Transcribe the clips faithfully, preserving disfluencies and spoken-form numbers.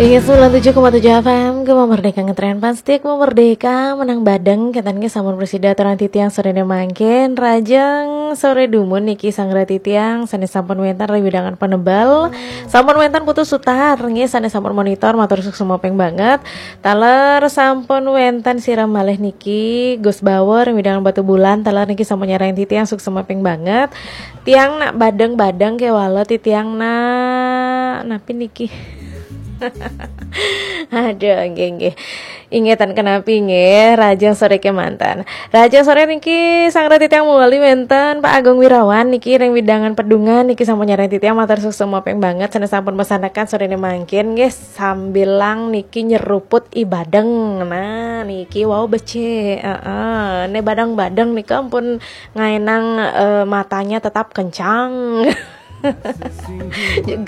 Iya, sembilan tujuh koma tujuh F M, Gema Merdeka ngetren pasti Gema Merdeka menang badeng. Ketan ke sampun presida aturang titiang sore ne mangkin. Rajang sore dumun niki sanggra titiang sane sampun wenten ring wewidangan Penebel. Sampun wenten Putu Sutar nggih sane sampun monitor, matur suksma ping banget. Taler sampun wenten sira malih niki Gus Bawer ring wewidangan Batubulan, taler niki sampun nyarengin titiang suksma ping banget. Tiang nak badeng-badeng kewala titiang nak napi niki. Aduh, nggih, nggih. Ingetan kenapi nggih, rajang sore kemanten. Rajang sore niki sanggra titiang mewali wenten Pak Agung Wirawan niki ring wewidangan Pedungan niki sampun nyarengin titiang, matur suksma ping banget sane sampun mesanaken sore ne mangkin nggih, sambilang niki nyeruput i badeng. Nah, niki wau becik. Heeh, ne badeng-badeng nika ampun ngaenang, eh, matanya tetap kencang.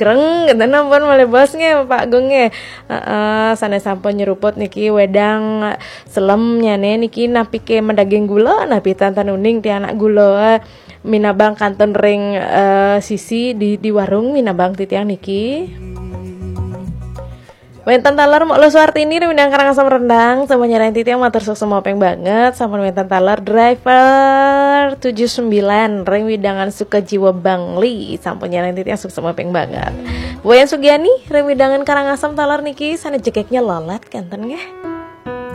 Greng, ngeten ampun malih bos nggih, Pak Gung nggih. Heeh, sane sampun nyeruput niki wedang selemnyane niki napi ke medaging gula, napi tanten uning tiang nak gula, eh, minabang kantun ring, eh, sisi di, di warung minabang titiang niki. Wenten taler Mok Lo Suartini ring wewidangan Karangasem Rendang, sampun nyarengin titiang, matur suksma ping banget. Sampun wenten taler driver tujuh sembilan ring wewidangan Sukajiwa Bangli, sampun nyarengin titiang, suksma ping banget. Wayan Sugiani ring wewidangan Karangasem taler niki sane jegegnya lolet kenten nggih.